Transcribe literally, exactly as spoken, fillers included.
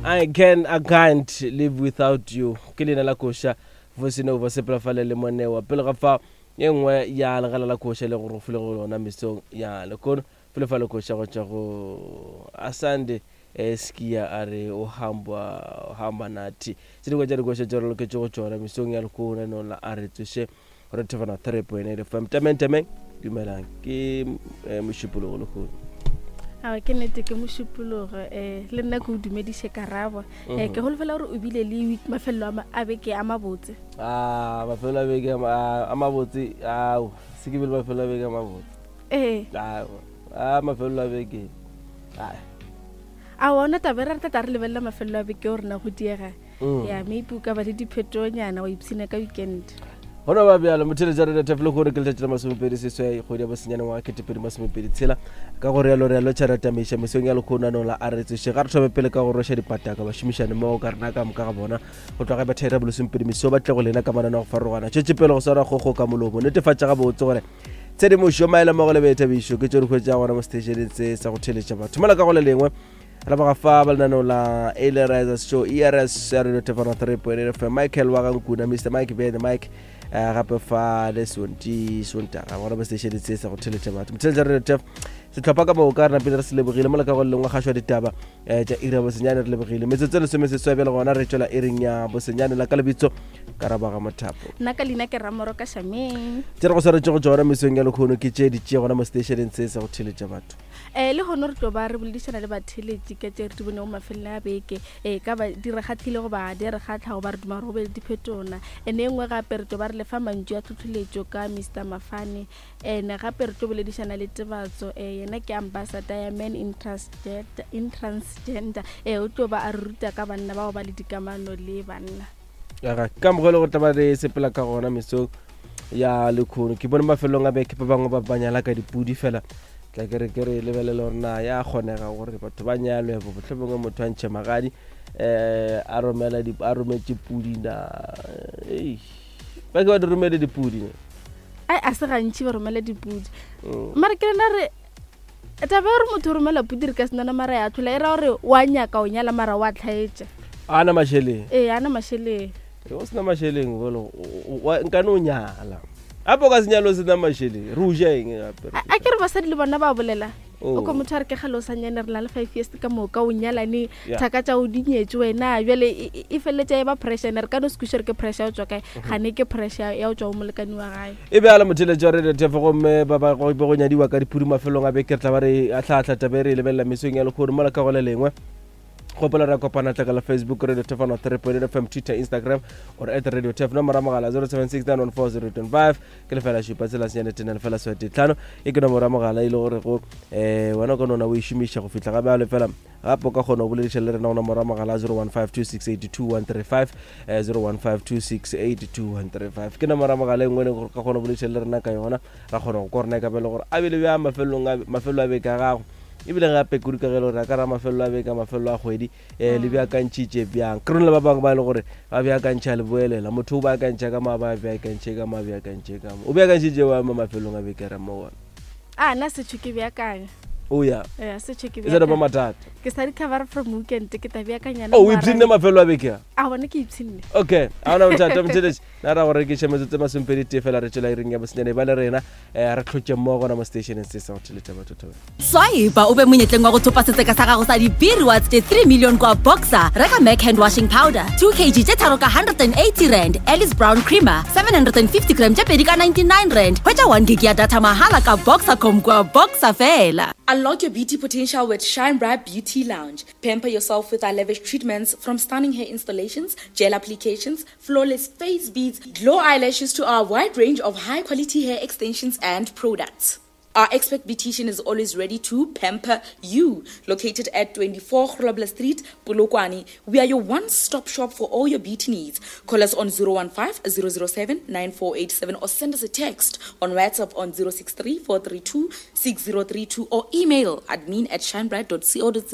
I can I can't live without you ke leina la koša voice nova sepela fale le monewa pele ga fa ye nngwe ya legala la koša le gore go file go lona mesong ya lekono fele fa le koša go tšwa go asande eh, skia a re o hamba o hamba nathi tse dingwe tša dikoša tše re loketše go tšona mesong ya lekono no la a re tsoše re thefana three point eight fm tameng tameng dumelang ke eh, mošupologo lehono Awa ke nnete ke mošupologo um le nna ke o dumediše karabo um ke holofela gore o bile le week mafelelo a ma- a beke a mabotse a mafelo a beke a ma- a mabotse ao se ke bile mafelo a beke a mabotse ee ao a mafelo a beke ai a ona tabe re re tla re lebelela mafelelo a beke o rena go diega Mm. ya maybe o ka ba le diphetonyana wa ipshina ka weekend gona ba bjalo motheletša re tef le gore ke letšatši la masomepedi seswai kgwedi ya bosenyane ngwaga ketepedi masomepedi tshela ka go rialo re a lotšha re tamaiša mesong ya lekgonanong la a re tsoše ga re thome pele ka go roša dipataka bašomišane mmogo ka rena ka moka ga bona go tloga bathaira bolesomepedi meso ba tle go lena ka manana go farologana tšwetše pele go swara kgogo ka molomo netefatša gabotse gore tshedimošo maele mmogo le boithabišo ke tšo di hwetša gona mo seteišeneng se sa go theletša batho mola ka go le lengwe re boga fa ba lenaneo la Early Show ers ya radio tefano three point eight fm michael wa gankuna mr mike bear the mike eh, gape fa le sonti sontaga gona mo seteišeneng se sa go theletša batho motheletša radio tef setlhopha ka moka re napile re se lebogile mola ka go le lengwe kgašwa ditaba um tša iri ya bosenyane re lebogile metsotso e lesome seswa bjale gona re tšwela iring ya bosenyane la ka lebitso karabaga mothapo nna ka leina ke ramoro ka shameng tse re go swaretše go tšona mesong ya lekgono ke tše di tšee gona mo seteišeneng se sa go theletša batho um le gone re tlo ba re boledišana le batheletši ka tše re di bonego mafelelo a beke um ka ba di re kgatlhile goba di re kgatlha goba re duma gore go be le diphetona ene e nngwe gape re tlo ba re lefa mantšu a tlhotlholetšo ka mr mafane and gape re tlo boledišana le tebatso um yena ke ambassador ya men in transgender, in transgender um o tlo ba a re ruta ka banna bao ba le dikamano le banna aga ka mogolo go tla ba re sepela ka gona mesong ya lekgono ke bone mafelong a beke ba bangwe ba ba nyala ka dipudi fela tla ke re ke re lebelele gore na ya kgonega gore batho ba nyalwe bo mohlomongwe motho a ntšhe magadi um a romela di- a rometše pudi na ei ba ke ba di romele dipudi ne ai a se gantši ba romela dipudi Mm. mara ke rena re taba ya gore motho o romela pudi re ka senana mara ya tlhola e ra gore wa nyaka o nyala mara wa tlhaetša a na mašeleng ee ana mašeleng o sena mašeleng bolo nkane o nyala gape o ka se nyale o sena mašeleng re o ja eng gape a a ke re basadi le bona ba bolela Oh. o kwa motho a re ke gale o sa nyane re na le five years ka moka o nyalane Yeah. thaka tša o dinyetse wena jale e- e e feleletša e ba pressure ene re ka no se kweše re ke pressure ya go tswa kae gane ke pressure ya go tswa go molekane wa gae e be ala motheletši wa radio tef gomme ba ba go be go nyadiwa ka dipudi mafelong a beke re tla ba re atlhaatlha tabe re e lebelela mesong ya lekgono mola ka go le lengwe gopola re kopana tla ka la facebook radio tef one three point eight fm twitter instagram or at radio tef nomoro ya mogala zero seven six nine one four zero two five ke lefela šupa tsela senyane tene lefela swete tlhano e ke nomoro ya mogala e le gore go um wena o ka nona o e šomiša go fihla gape a fela gape o ka kgona go bolediša le rena go nomoro ya mogala zero one five two six eight two one three five zero one five two six eight two one three five ke nomoro ya mogala e nngwe e leng gore o ka kgona go bolediša le rena ka yona ra kgona go kwa rena e ka be le gore a bile bjang mafelong a mafelo a beke a gago ebile gape kudu ka ge e le gore a ka ra mafelelo a beke mafelelo a kgwedi um le beakantšhitše bjang ke rone le ba bangwe ba e le gore ba beakantšha le boelela motho o beakantšha ka mo a ba beakantšhe ka mo a beakantšhe ka mo o beakantšhitše wa mo mafelong a beke re mo gona a nna setšho ke beakanya o ya ee setšho ke e sa ba beakanya mathata ke sa recover from weekend ke tla beakanyana o o ipshinne mafelo a beke a a bona ke ipshinne okay a ona bothata motheletši na ra go rekiša metsotso e masomepedi tee fela re tšwela iring ya bosenyane ba le rena um re tlhotše mmogo gona mo stationeng se sa go theletša batho thobela swipe o be monyetleng wa go thopa setseka sa gago sa di-b-rewards tše three million kwa boxer reka mac hand washing powder two kg tše tharo ka one hundred and eighty rand alice brown creamer seven hundred and fifty gram tše pedi ka ninety-nine rand hwetša one gig ya data mahala ka boxercom kwa boxer fela Unlock your beauty potential with Shine Bright Beauty Lounge. Pamper yourself with our lavish treatments from stunning hair installations, gel applications, flawless face beads, glow eyelashes to our wide range of high quality hair extensions and products. Our expert beautician is always ready to pamper you. Located at twenty-four Grobler Street, Polokwane, we are your one-stop shop for all your beauty needs. Call us on zero one five zero zero seven nine four eight seven or send us a text on WhatsApp on zero six three four three two six zero three two or email admin at shinebright dot co dot za.